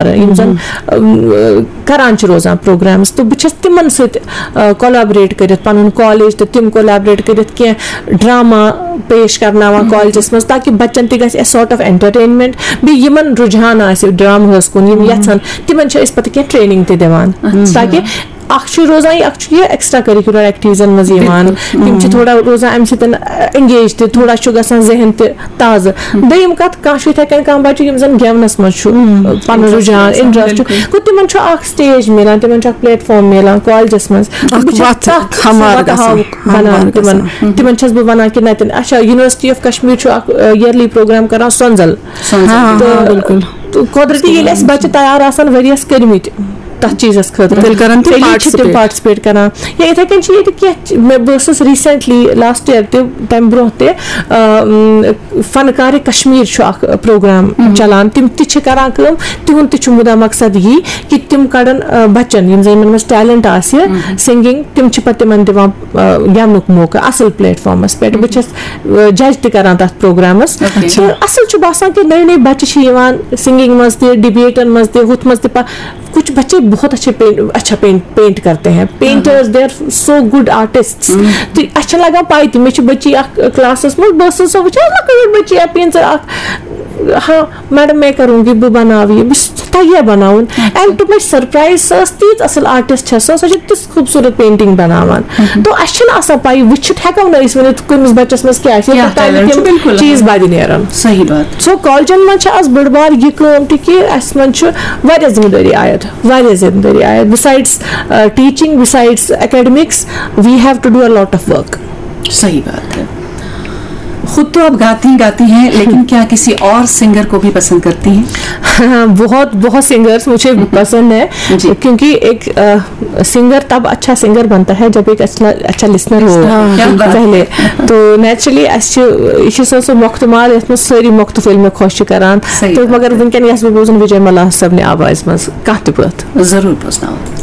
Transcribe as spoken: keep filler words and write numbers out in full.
یِم زَن، اَم، کران چھِ روزان پروگرامز، تہٕ بہٕ چھَس تِمن سۭتۍ، آ، کولیبریٹ کٔرِتھ، پَنُن کالج تہٕ تِم کولیبریٹ کٔرِتھ کینٛہہ ڈراما پیش کرناوان کالجس منٛز، تاکہِ بَچن تہِ گژھِ اَسہِ سارٹ آف انٹرٹینمنٹ، بیٚیہِ یِمن رُجحان آسہِ ڈرامہس کُن، یِم یَژھن، تِمن چھِ أسۍ پَتہٕ کینٛہہ ٹریننگ تہِ دِوان، تاکہِ اکھ چھُ روزان، اکھ چھُ یہِ ایکسٹرا کریکولر ایکٹیویٹیزن منٛز یِوان، تِم چھِ تھوڑا روزان اَمہِ سۭتۍ انگیج تہِ، تھوڑا چھُ گژھان ذہن تہِ تازٕ۔ دوٚیِم کَتھ، کانٛہہ چھُ یِتھَے کٔنۍ، کانٛہہ بَچہٕ یِم زَن گٮ۪ونَس منٛز چھُ، پَنُن رُجحان، انٹرسٹ چھُ، گوٚو تِمَن چھُ اَکھ سٹیج مِلان، تِمَن چھُ اَکھ پلیٹ فارم مِلان کالجَس منٛز۔ بہٕ چھَس وَتھ تَتھ ہموار وَتہٕ گژھان، ہاوُک بَنان تِمَن۔ تِمَن چھَس بہٕ وَنان کہِ نَتٮ۪ن، اچھا، یونیورسٹی آف کشمیٖر چھُ اَکھ، آ، یرلی پروگرام کَران سۄنزَل۔ تہٕ، تہٕ قۄدرٔتی ییٚلہِ اَسہِ بَچہٕ تیار آسَن ؤریَس کٔرمٕتۍ تَتھ چیٖزَس خٲطرٕ، تیٚلہِ کَرَن تِم تیٚلی چھِ تِم پارٹِسِپیٹ۔ پارٹِسِپیٹ کَران۔ یا یِتھَے کٔنۍ چھِ ییٚتہِ کینٛہہ چ-، مےٚ، بہٕ ٲسٕس ریٖسٮ۪نٛٹلی لاسٹ یِیَر تہِ، تَمہِ برونٛہہ تہِ، آ، م، فنکار کشمیر چھُ اکھ پروگرام چلان، تِم تہِ چھِ کران کٲم، تِہُنٛد تہِ چھُ مُدا مقصد یی کہِ تِم کڑن، آ، بچن، یِم زن یِمن منٛز ٹیلنٹ آسہِ سنگنگ، تِم چھِ پتہٕ تِمن دِوان، آ، گٮ۪ونُک موقعہٕ اصل پلیٹ فارمس پٮ۪ٹھ۔ بہٕ چھَس، آ، جج تہِ کران تتھ پروگرامس۔ تہٕ اصل چھُ باسان کہِ نٔے نٔے بچہِ چھِ یِوان سنگنگ منٛز تہِ، ڈبیٹن منٛز تہِ، ہُتھ منٛز تہِ پا-، کچھ بچے بہت اچھے پینٹ، اچھا پینٹ، پینٹ کرتے ہیں، painters, they are so good artists۔ تہٕ اَسہِ چھِ لگان پاے تہِ، مےٚ چھِ بٔچی اکھ کلاسس منٛز، بہٕ ٲسٕس سۄ وٕچھان، لۄکٕٹ بٔچی اکھ، painter اکھ، ہاں میڈم میں کروں گی، بہٕ بناوٕ یہِ، بہٕ چھَس تَگہِ ہا بناوُن۔ And to my surprise، سۄ ٲس تیٖژ اصل آرٹسٹ چھےٚ سۄ، سۄ چھِ تِژھ خوٗبصوٗرت پینٹنگ بناوان۔ تو اَسہِ چھِنہٕ آسان پاے، وٕچھِتھ ہٮ۪کو نہٕ أسۍ ؤنِتھ کٔمِس بچس منٛز کیٛاہ آسہِ، کیٛاہ یوٚتام talent چھُ، تِم بِلکُل۔ چیٖز بدِ نیرن۔ صحیح بات۔ سو کالجن منٛز چھِ از بٔڑ بار یہِ کٲم تہِ کہِ اَسہِ منٛز چھُ واریاہ ذمہٕ دٲری عائد، واریاہ ذمہٕ دٲری عائد۔ Besides, uh, teaching, besides academics, we have to do a lot of work. صحیح بات ہے۔ خود تو آپ گاتی گاتی ہیں، لیکن کیا کسی اور سنگر کو بھی پسند کرتی ہیں؟ بہت، بہت سنگرز مجھے پسند ہے، جی۔ کیونکہ ایک، آ، سنگر تب اچھا سنگر بنتا ہے جب ایک اچھا، اچھا لسنر ہو۔ ہاں۔ کیا بات۔ پہلے تو نیچرلی اَسہِ چھِ، یہِ چھِ سۄ، سۄ مۄختہٕ مال یَتھ منٛز سٲری مۄختہٕ فِلمہٕ خۄش چھِ کران۔ صحیح تہٕ بات مگر ہے۔ وٕنکیٚن یَس بہٕ بوزُن وِجے ملا صٲبنہِ آوازِ منٛز کانٛہہ تہِ بٲتھ۔ ضروٗر بوزناوو۔